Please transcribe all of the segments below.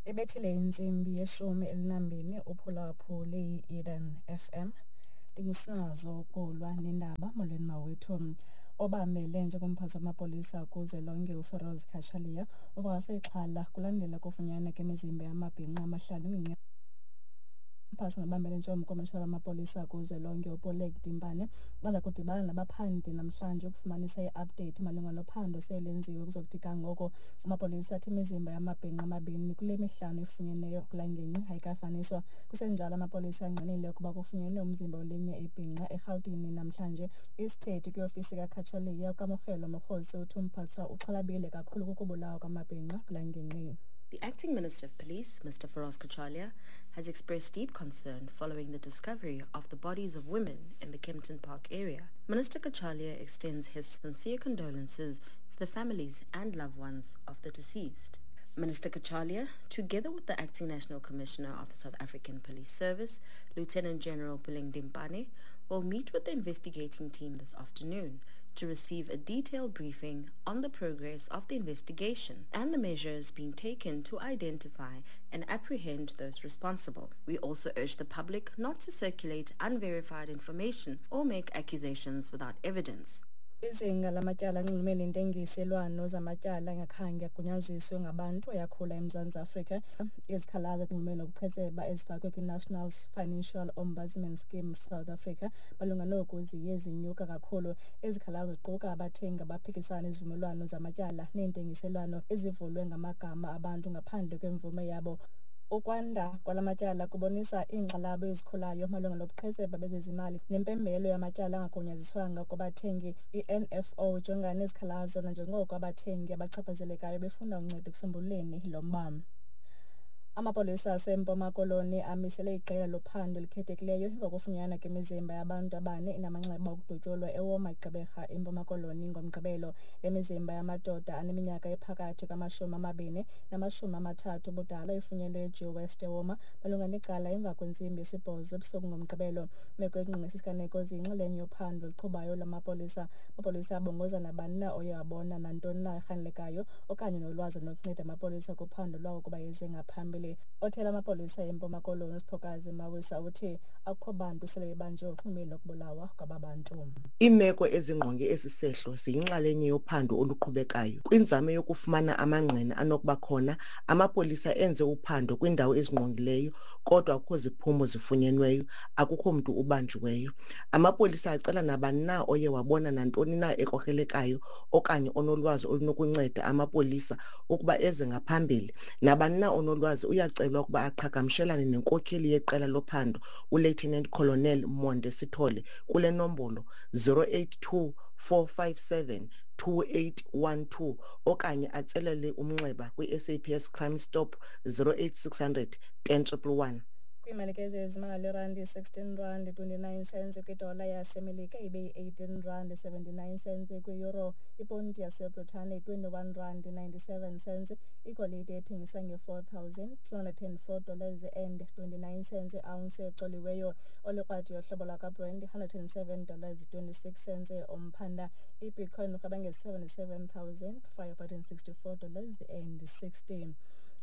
Ibethile intsimbi yeshumi elinambini uphulaphule i-Eden FM. Ndingusinazo Kolwa nendaba. Molweni mawethu. Obamele njengomphathi wamapolisa kuzwelonke uFeroz Cachalia uvakase ixhala kulandela kufunyanwa kwemizimba yamabhinqa amahlanu kwingingqi. Umphathi nobambele njengomkomishana wamapolisa kuzwelonke uPolek Dimpane baza kudibana nabaphandi namhlanje ukufumanisa i-update malunga nophando selenziwe kuzokuthi ga ngoko. Amapolisa athi imizimba yamabhinqa amabini kule mihlanu ifunyeneyo kula ngingqi ayikafaniswa. Kusenjalo, amapolisa angqinile ukuba kufunyenwe umzimba welinye ibhinqa eRhawutini namhlanje. Isithethi kwiofisi kaCachalia uKamogelo Mokgosi uthi umphathiswa uxhalabile kakhulu kukubulawa kwamabhinqa kula ngingqi. The Acting Minister of Police, Mr. Firoz Cachalia, has expressed deep concern following the discovery of the bodies of women in the Kempton Park area. Minister Cachalia extends his sincere condolences to the families and loved ones of the deceased. Minister Cachalia, together with the Acting National Commissioner of the South African Police Service, Lieutenant General Puleng Dimpane, will meet with the investigating team this afternoon to receive a detailed briefing on the progress of the investigation and the measures being taken to identify and apprehend those responsible. We also urge the public not to circulate unverified information or make accusations without evidence. Izinga lamatyala anxulumene nentengiselwano zamatyala angakhange agunyaziswe ngabantu ayakhula eMzantsi Afrika. Izikhalazo ezinxulumene nobuqhetseba ezifakwe kwi-National Financial Ombudsman Scheme South Africa malunga noku ziye zinyuka kakhulu. Izikhalazo ziquka abathengi abaphikisana nezivumelwano zamatyala neentengiselwano ezivulwe ngamagama abantu ngaphandle kwemvume yabo. Ukwanda kwala matyala kubonisa iinkxalabo ezikhulayo malunga nobuqhetseba bezezimali nempembelo yamatyala angagunyaziswanga kubathengi. I-NFO ijongana nezikhalazo nanjengoko abathengi abachaphazelekayo befuna uncedo ekusombululeni lo mba. Amapolisa aseMpuma Koloni amisele iqela lophando elikhethekileyo emva kokufunyanwa kwemizimba yabantu abane inamanxeba okudutyulwa eWalmer, eGqeberha, eMpuma Koloni ngoMgqibelo. Le mizimba yamadoda aneminyaka ephakathi kwama-20 nama-30 ubudala ifunyenwe eGew West eWalmer malunga necala emva kwentsimbi yesibhozo ebusuku ngoMgqibelo. Imeko engqinqe esi siganeko ziyinxalenye yophando oluqhubayo lwamapolisa. Amapolisa abongoza nabani na oye wabona nantoni na erhanelekayo okanye nolwazi olunokunceda amapolisa kuphando lwawo ukuba eze ngaphambili. Othela amapolisa eMpuma Koloni uSiphokazi Mawisa uthi akukho bantu sele bebanjiwe ngokunxulumene nokubulawa kwaba bantu. Iimeko ezingqonge esi sehlo ziyinxalenye yophando oluqhubekayo. Kwinzame yokufumana amangqina anokuba khona, amapolisa enze uphando kwiindawo ezingqongileyo kodwa akukho ziphumo zifunyenweyo, akukho mntu ubanjiweyo. Amapolisa acela nabani na oye wabona nantoni na ekrokrelekayo okanye onolwazi olunokunceda amapolisa ukuba eze ngaphambili. Nabani na onolwazi uyacelwa ukuba aqhagamshelane nenkokheli yeqela lophando uLieutenant Colonel Monde Sithole kule nombolo 082 457 2812 okanye atsalele umnxeba kwi-SAPS Crime Stop 08600 10111. Kwiimalike zezimali, irandi 16 rand 29 cents kwidola yaseMelika, ibe yi-18 rand 79 cents kwi-euro, iponti yaseBritane 21 rand 97 cents, igolide ethengisa nge-$4,204 and 29 cents iounce ecoliweyo, olikrwadi yohlobo lwakwaBrent $107 26 cents umphanda, ibitcoin urhweba nge-$77,564 and 60.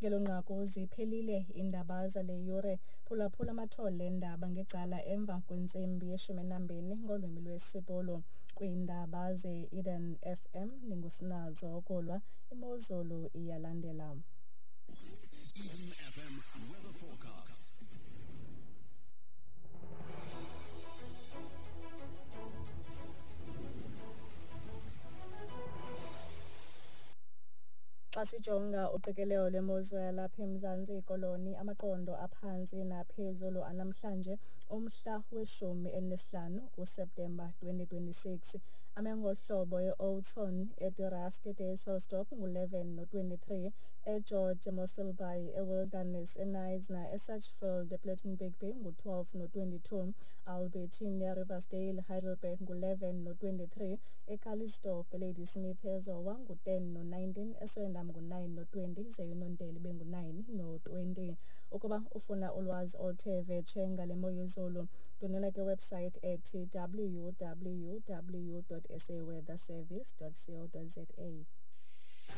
Ngelo nqaku ziphelile iindaba zale yure. Phulaphula amathole eendaba ngecala emva kwentsimbi yeshumi nambini ngolwimi lwesiBhulu. Kwiindaba ze-Eden FM ndingusinazo Okulwa. Imozulu iyalandela. Eden FM weather forecast. Xa sijonga uqikelelo lwemozulu yalapha eMzantsi Koloni, amaqondo aphantsi naphezulu anamhlanje umhla we-15 kuSeptemba 2026 ame ngohlobo: e-Oudtshoorn, eDe Rust, eDysselsdorp ngu-11 no-23, eGeorge, eMossel Bay, eWilderness, eKnysna, eSachsfield, ePlettenberg Bay ngu-12 no-22, Albertina, Riversdale, Heidelberg ngu-11 no-23, eCalitzdorp, eLadysmith, eZowa ngu-10 no-19, eSwellendam ngu-9 no-20, ze iNontele ibe ngu-9 no-20. Ukuba ufuna ulwazi oluthe vetshe ngale mo yezulu, ndwendwela kwiwebsite ethi www.saweatherservice.co.za.